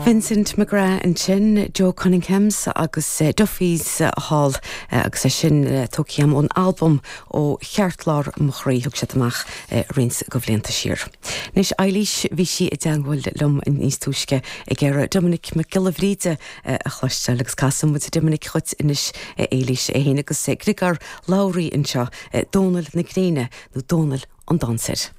Vincent McGrath ansin, Joe Cunninghams agus Duffy's Hall agus é sin tógtha agam ón albam Ó Cheartlár Mo Chroí, thug siad amach roinnt de bhlianta siar. Anois Eilís, bhí sí i dteangmháil liom níos túisce ag iarraidh Doiminic Mac Giolla Bhríde a chloisteáil agus casfaidh muid Doiminic dhuit anois a Éilís, é féin agus Griogair Labhruidh anseo, Dónal na Gréine nó Dónal an Dainséir.